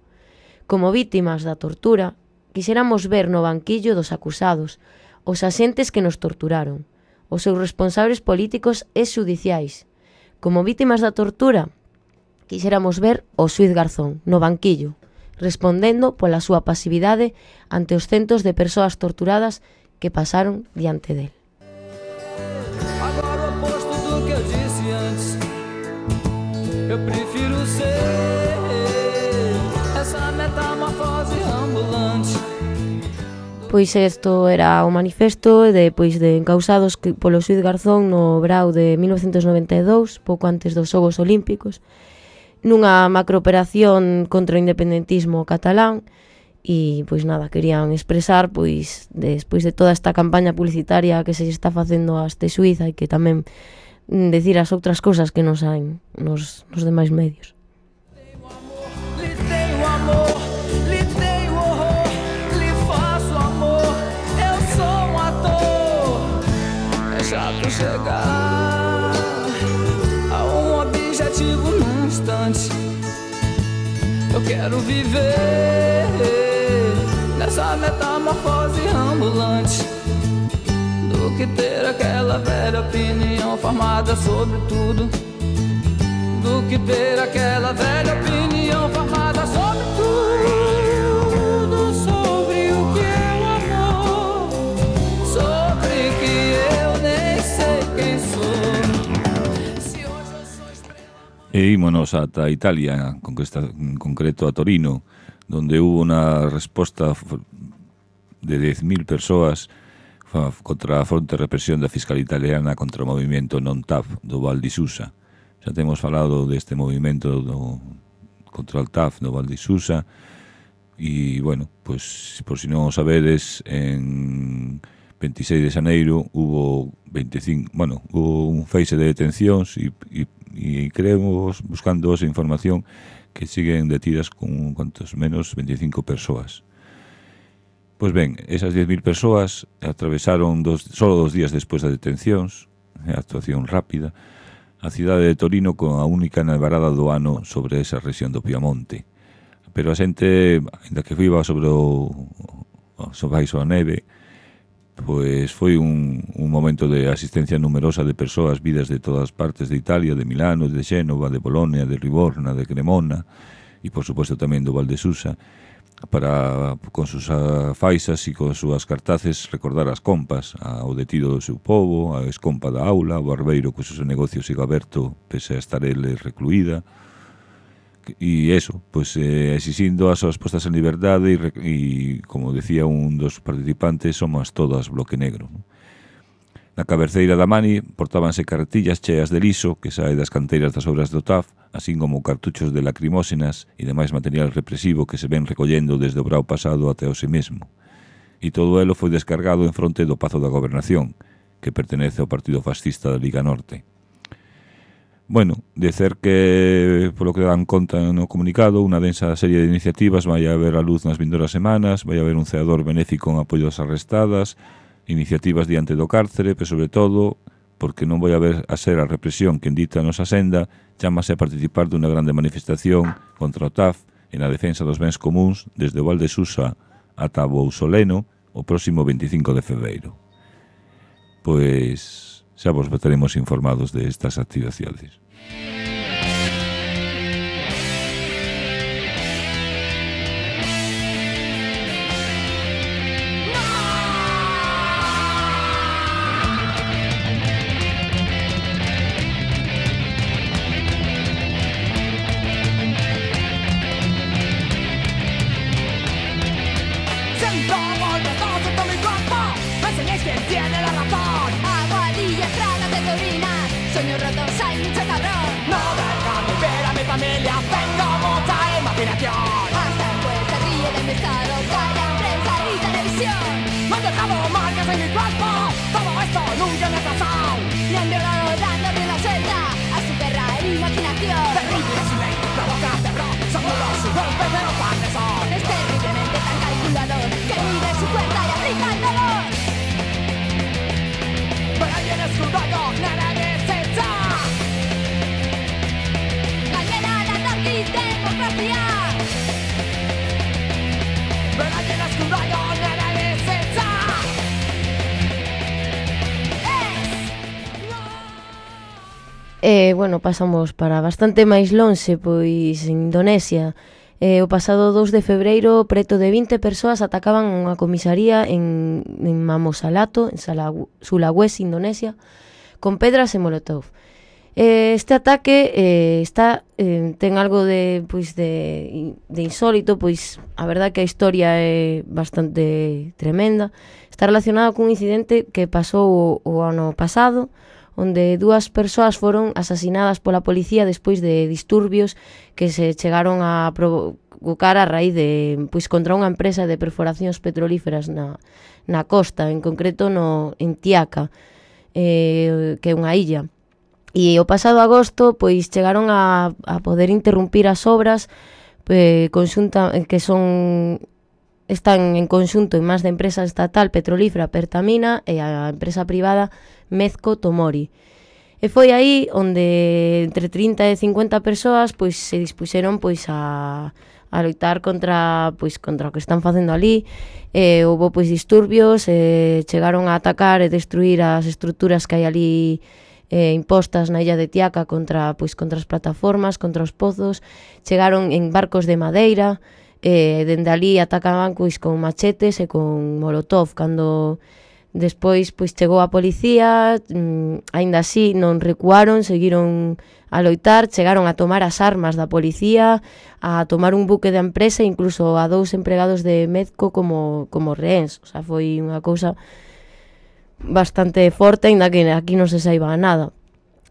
Como vítimas da tortura, quixéramos ver no banquillo dos acusados os axentes que nos torturaron, os seus responsables políticos e xudiciais. Como vítimas da tortura, quixéramos ver o xuiz Garzón no banquillo, respondendo pola súa pasividade ante os centos de persoas torturadas que pasaron diante del. Agora o oposto do que eu disse antes. Eu prefiro ser essa metamorfose ambulante. Pois isto era o manifesto depois de encausados polo xuíz Garzón no verao de 1992, pouco antes dos Xogos Olímpicos, nunha macrooperación contra o independentismo catalán. E, pois nada, querían expresar, pois, despois de toda esta campaña publicitaria que se está facendo a este xuíz, hai que tamén decir as outras cousas que non saen nos demais medios. Lhe tenho amor, lhe tenho horror, lhe faço amor, eu sou um ator. É chato chegar a um objetivo num instante. Eu quero viver nessa metamorfose ambulante, do que ter aquela velha opinião formada sobre tudo, do que ter aquela velha opinião formada sobre tudo, sobre o que é o amor, sobre que eu nem sei quem sou. Se hoje eu sou estrela... E ímonos ata Italia, en concreto a Torino, donde hubo una resposta de 10.000 persoas contra a forte represión da fiscal italiana contra o movimento non-TAF do Val di Susa. Xa temos falado deste movimento contra o TAF do Val di Susa e, bueno, pues, por si non o sabedes, en 26 de xaneiro hubo un feixe de detencións e creemos, buscando esa información, que siguen detidas con cuantos menos 25 persoas. Pois ben, esas 10.000 persoas atravesaron solo 2 días despois das detencións, a actuación rápida, a cidade de Torino con a única nevarada do ano sobre esa rexión do Piamonte. Pero a xente, ainda que viva sobre baixo a neve, pois foi un momento de asistencia numerosa de persoas vidas de todas partes de Italia, de Milano, de Xénova, de Bolonia, de Livorna, de Cremona e, por suposto, tamén do Val de Susa, para, con sus faixas e con súas cartaces, recordar as compas ao detido do seu povo, a escompa da aula, o barbeiro co seu negocio siga aberto pese a estar ele recluída, e eso, pues exixindo as súas postas en liberdade e como decía un dos participantes, somos todas bloque negro, ¿no? Na cabeceira da Mani portábanse carretillas cheas de liso que sae das canteiras das obras do TAF, así como cartuchos de lacrimósenas e demais material represivo que se ven recollendo desde o brao pasado até o mesmo. E todo elo foi descargado en fronte do Pazo da Gobernación, que pertenece ao Partido Fascista da Liga Norte. Bueno, dicer que, polo que dan conta no comunicado, unha densa serie de iniciativas vai haber a luz nas vindoras semanas, vai haber un ceador benéfico en apoio ás arrestadas, iniciativas diante do cárcere, pero sobre todo, porque non vai haber a ser a represión que dita a nosa senda, chámase a participar dunha grande manifestación contra o TAF e na defensa dos bens comuns desde o Val de Susa ata Bousoleno o próximo 25 de febreiro. Pois xa vos estaremos informados de estas actividades. Siento volver todo mi cuerpo, me enseñéis quién tiene la razón. Aguadilla, estrada de Torina, sueños rotos, hay mucho cabrón. No dejan vivir a mi familia, tengo mucha imaginación. Hasta el juez se ríe de mi estado, calla prensa y televisión. Me han dejado marcas en mi cuerpo, todo esto nunca me ha pasado. Me han violado dándole la suelta a su perra imaginación. Terrible silencio, provoca terror, somos los golpes de los padres son. Es terriblemente tan calculador que mide su fuerza y aplica el dolor. Pero alguien escudado, nada deshecha. Mañana la democracia. Pero alguien escudado, nada deshecha. Bueno, pasamos para bastante máis lonxe, pois en Indonesia O pasado 2 de febreiro, preto de 20 persoas atacaban unha comisaría en Mamosalato, en Sulawesi, Indonesia, con pedras e molotov. Este ataque ten algo de insólito, pois a verdade que a historia é bastante tremenda. Está relacionado cun incidente que pasou o ano pasado, onde 2 persoas foron asasinadas pola policía despois de disturbios que se chegaron a provocar a raíz de contra unha empresa de perforacións petrolíferas na costa, en concreto en Tiaka, que é unha illa. E o pasado agosto chegaron a poder interrumpir as obras conxunta que están en conxunto en máis da empresa estatal petrolífera Pertamina e a empresa privada Mezco Tomori. E foi aí onde entre 30 e 50 persoas se dispuxeron a loitar contra o que están facendo ali. Houbo disturbios, chegaron a atacar e destruir as estruturas que hai ali impostas na illa de Tiaka contra as plataformas, contra os pozos. Chegaron en barcos de madeira, dende ali atacaban con machetes e con molotov. Cando despois chegou a policía, aínda así non recuaron, seguiron a loitar, chegaron a tomar as armas da policía, a tomar un buque da empresa, incluso a 2 empregados de Mezco como rehéns. O sea, foi unha cousa bastante forte, aínda que aquí non se saiba nada.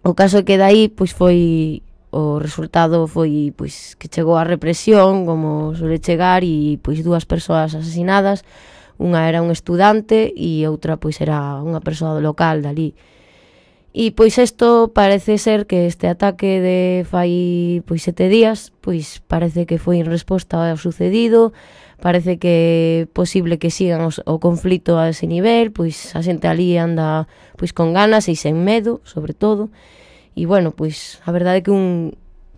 O caso é que dai foi o resultado foi que chegou a represión, como suele chegar, e 2 persoas asasinadas. Unha era un estudante e outra era unha persoa local dali. E isto parece ser que este ataque de fai 7 días, parece que foi en resposta ao sucedido. Parece que é posible que sigan o conflito a ese nivel, a xente ali anda con ganas e sen medo, sobre todo. E bueno, a verdade é que un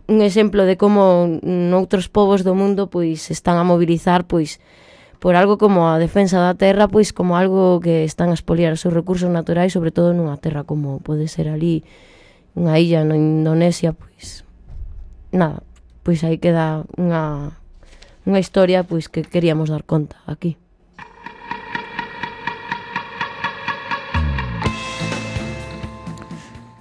exemplo de como noutros povos do mundo están a mobilizar por algo como a defensa da terra, como algo que están a expoliar os seus recursos naturais, sobre todo nunha terra como pode ser ali unha illa na Indonesia. Nada, aí queda unha historia que queríamos dar conta aquí.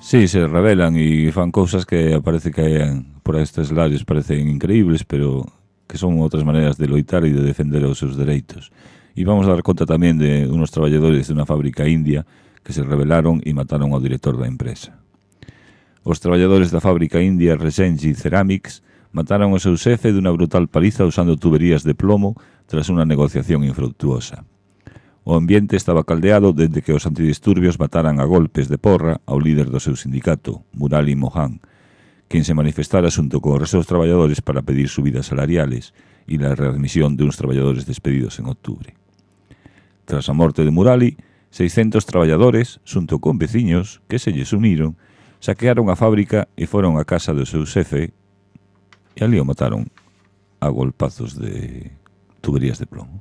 Sí, se revelan e fan cousas que parece que por estes lares parecen increíbles, pero que son outras maneiras de loitar e de defender os seus dereitos. E vamos a dar conta tamén de unos traballadores de unha fábrica india que se rebelaron e mataron ao director da empresa. Os traballadores da fábrica india Resenji Ceramics mataron ao seu xefe dunha brutal paliza usando tuberías de plomo tras unha negociación infructuosa. O ambiente estaba caldeado dende que os antidisturbios mataran a golpes de porra ao líder do seu sindicato, Murali Mohan, quen se manifestara xunto co resto dos traballadores para pedir subidas salariales e la readmisión de uns traballadores despedidos en outubro. Tras a morte de Murali, 600 traballadores, xunto con veciños que se lles uniron, saquearon a fábrica e foron á casa do seu xefe e ali o mataron a golpazos de tuberías de plomo.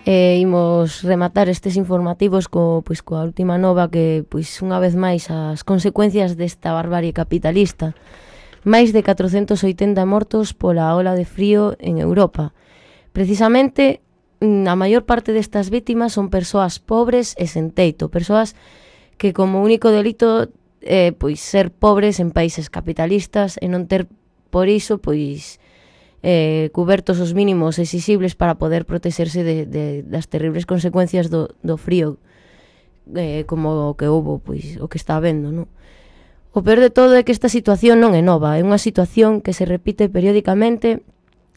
Imos rematar estes informativos coa última nova que, unha vez máis, as consecuencias desta barbarie capitalista. Máis de 480 mortos pola ola de frío en Europa. Precisamente, a maior parte destas vítimas son persoas pobres e sen teito, persoas que como único delito ser pobres en países capitalistas e non ter por iso cubertos os mínimos exixibles para poder protexerse das terribles consecuencias do frío, como o que houbo, o que está habendo, non? O peor de todo é que esta situación non é nova, é unha situación que se repite periódicamente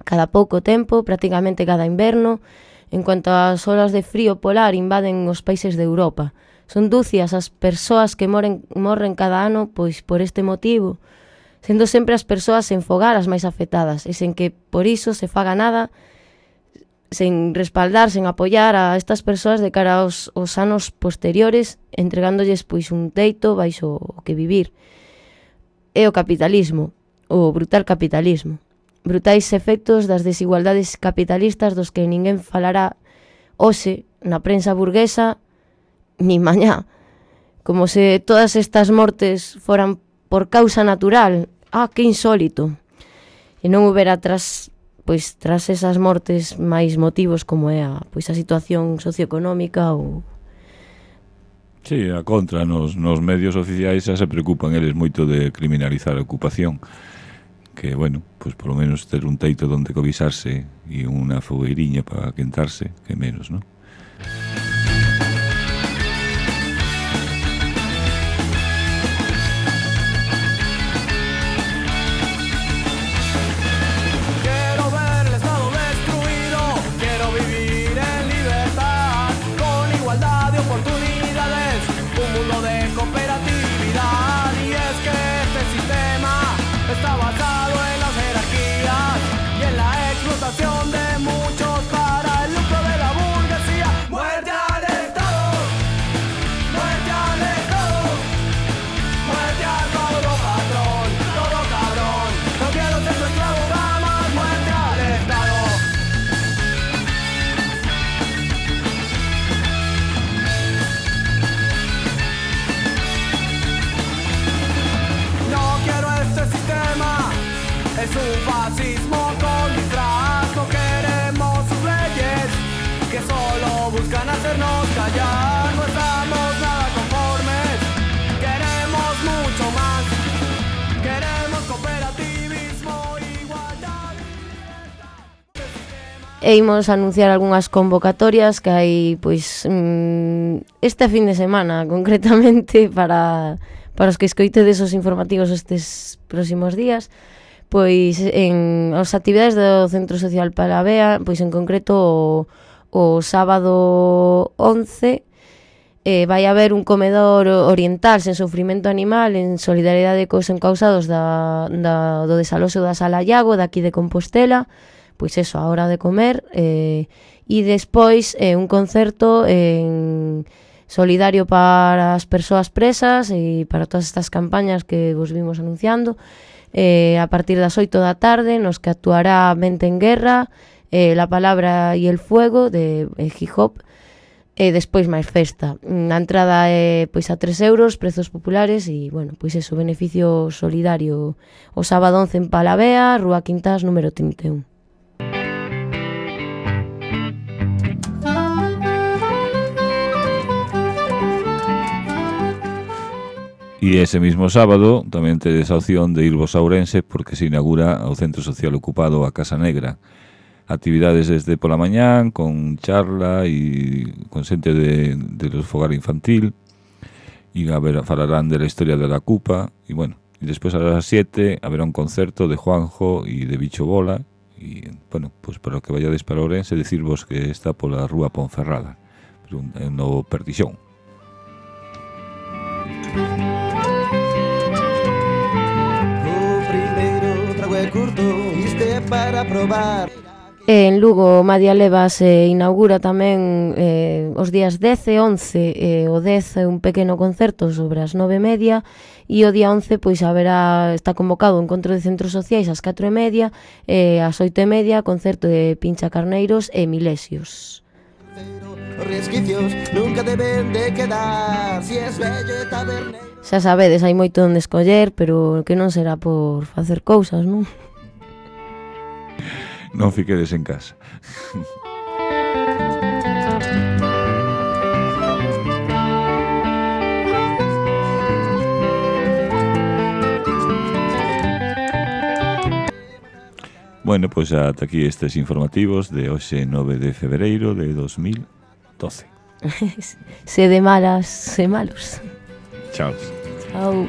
cada pouco tempo, prácticamente cada inverno, en cuanto as olas de frío polar invaden os países de Europa. Son dúcias as persoas que morren cada ano pois por este motivo, sendo sempre as persoas sen fogar as máis afectadas e sen que por iso se faga nada, sen respaldar, sen apoiar a estas persoas de cara aos anos posteriores, entregándolles pois un teito baixo o que vivir. É o capitalismo, o brutal capitalismo. Brutais efectos das desigualdades capitalistas dos que ninguén falará hoxe na prensa burguesa ni mañá. Como se todas estas mortes foran por causa natural. Que insólito. E non houbera tras esas mortes máis motivos como é a situación socioeconómica ou... Sí, a contra, nos medios oficiais xa se preocupan eles moito de criminalizar a ocupación, que, bueno, pois polo menos ter un teito onde cobixarse e unha fogueiriña para quentarse, que menos, non? Es un fascismo con disfraz, no queremos sus leyes que solo buscan hacernos callar. No estamos nada conformes, queremos mucho más, queremos cooperativismo, igualdad y libertad. E imos anunciar algunhas convocatorias que hai pois este fin de semana concretamente para os que escoitedes os informativos estes próximos días. Pois en as actividades do Centro Social Palavea, pois en concreto o sábado 11 vai haber un comedor oriental sen sufrimento animal en solidariedade cos encausados do desaloxo da Sala Iago daqui de Compostela, pois eso, a hora de comer, e despois un concerto solidario para as persoas presas e para todas estas campañas que vos vimos anunciando, a partir das 8 da tarde, nos que actuará Mente en Guerra, La Palabra y el Fuego de hip hop, e despois máis festa. A entrada é pois a 3 euros, prezos populares e, bueno, pois eso, beneficio solidario o sábado 11 en Palavea, Rúa Quintás, número 31. E ese mismo sábado tamén tedes a opción de irvos a Ourense porque se inaugura o Centro Social Ocupado a Casa Negra. Actividades desde pola mañán, con charla e con xente de los fogar infantil, e falarán de la historia de la Cupa, e bueno, e despois a las 7 haberá un concerto de Juanjo e de Bicho Bola, e bueno, pues para que vayades para Ourense, decirvos que está pola Rúa Ponferrada, no Pertixón. Curto, este para probar. En Lugo, Madia Leva se inaugura tamén os días 10 e 11, o 10 un pequeno concerto sobre as 9:30 e o día 11 pois está convocado o encontro de centros sociais ás 4:30 e ás 8:30 concerto de Pincha Carneiros e Milesios. Os resquicios nunca deben de quedar, si es bello taberneiro. Xa sabedes, hai moito onde escoller, pero que non será por facer cousas, non? Non fiquedes en casa. Bueno, pois ata aquí estes informativos de hoxe 9 de febreiro de 2012. Se de malas, se malos. Chao. Chao.